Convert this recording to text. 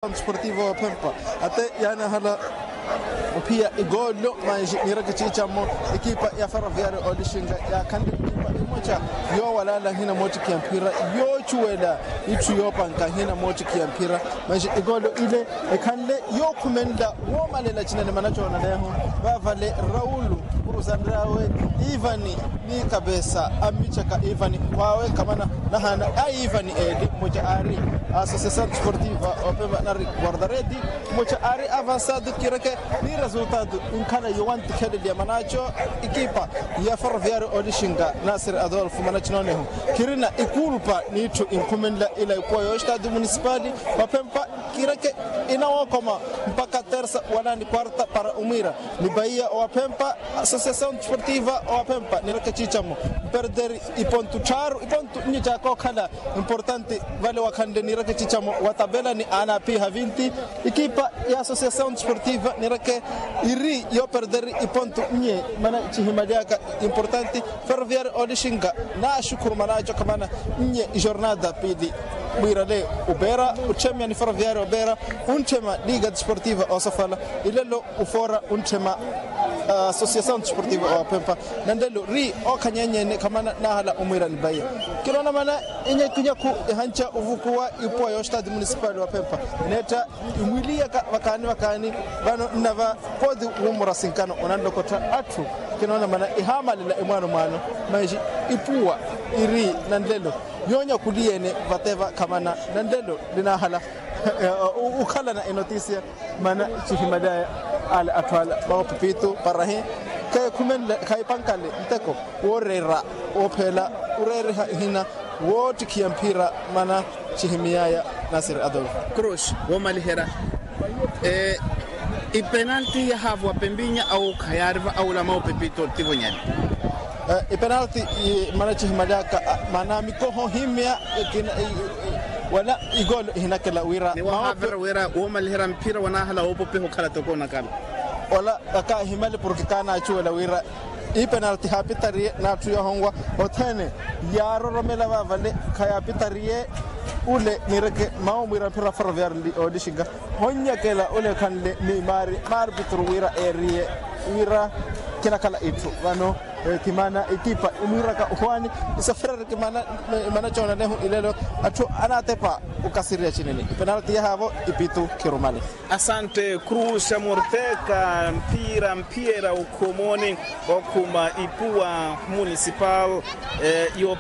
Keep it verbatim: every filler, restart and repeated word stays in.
Desportivo wa phempa ate yaanahala ophiya igoolo manji niireke ciicamo. Ekipa ya ferroviario olixinga yaakhanle ekipa emoca yoowalala hina moottikhiya mphira yoocuwela itthu yoopanka hina moottikhiya mphira. Manji igoolo ile ekhanle yookhumenla woomalela cinene mana coonaleeho vaavale raulu khurusanryawe ivani ni kapesa ammicaka ivani wawe kamana nahaana a ivani eli mmoca aari asociasaw desportiva opema nari guardaredi mmoca aari avansado kireke ni resultado inkhala yowantikheleliya manaco ikipa ya ferroviario olixinga nasir adolfo mana cinooneho kirina ikulpa n'itthu inkhumenla ila ikuwa yo estado municipali wa phempa kireke inawookoma mpakha tersa wala ni quarta para omwiira ni bahiya owaphempa asociasaw desportiva owaphempa niireke ciicamo mperderi ipontu tthaaru ipontu nnyi cakookhala importante vale wakhanle niireke ciicamo wa tapela ni anaapiha vinti ikipa ya asociasaw desportiva niireke iri yooperderi ipontu nnyi mana cihimalyaka importante ferroviario olixinga naaxukhuru manaco khamana nnye ijornada piili mwiirale opeera otthemya ni ferroviario opeera ontthema liga desportiva osofala ilelo ofoora ontthema asociasaw desportiva owaphempa nanlelo ri ookhanyenyene khamana naahala omwiira ni bahiya kinoona mana inyakunyaku ihanca ovukuwa ipuwa yo estado municipal wa phempa neetta imwiliyaka vakaani vakaani vano nnava pooti wuumura sinkano onanlokottha atthu kinoona mana ihaamalela imwaano mwaano manji ipuwa iri nanlelo yoonyakuliye-ene vateva khamana nanlelo ninaahala okhalana enotisia mana cihimalyaya ale atthu ala maopipito parahi khayi khumenle khayi pankale nteko wooreera woophela oreeriha ihina woottikhiya mphira mana cihimiyaya nasir adolfo. Cruz woomaliherya ipenalti yahaavo wa pempinya awo khayaariva awula maopipito ttivonyani. Ipenalti mana cihimalyaka mana mikoho himya wala igoolo ihinakela wira ni wahaavira wira woomaliherya mphira wanaahala woopopiha okhala toko onakala wala akaahimali porke kaanaacuwela wira ipenalti haapitariye n'atthu yoohonwa othene yaaroromela vaavale khayaapitariye ule niireke mawo mwiira mphira ferroviario olixinga honnyakela ule ekhanle ni maari maari pituru wira eeriye wira kinakhala itthu vano ti mana ekipa imwiiraka ohwaani isoferereke imana coonalehu ilelo atthu anaatepa okasiriya cinene ipenalti yahaavo ipitu khirumale. Asante cruz amorteka mphira mphiyera okhumoni okhuma ipuwa municipal yo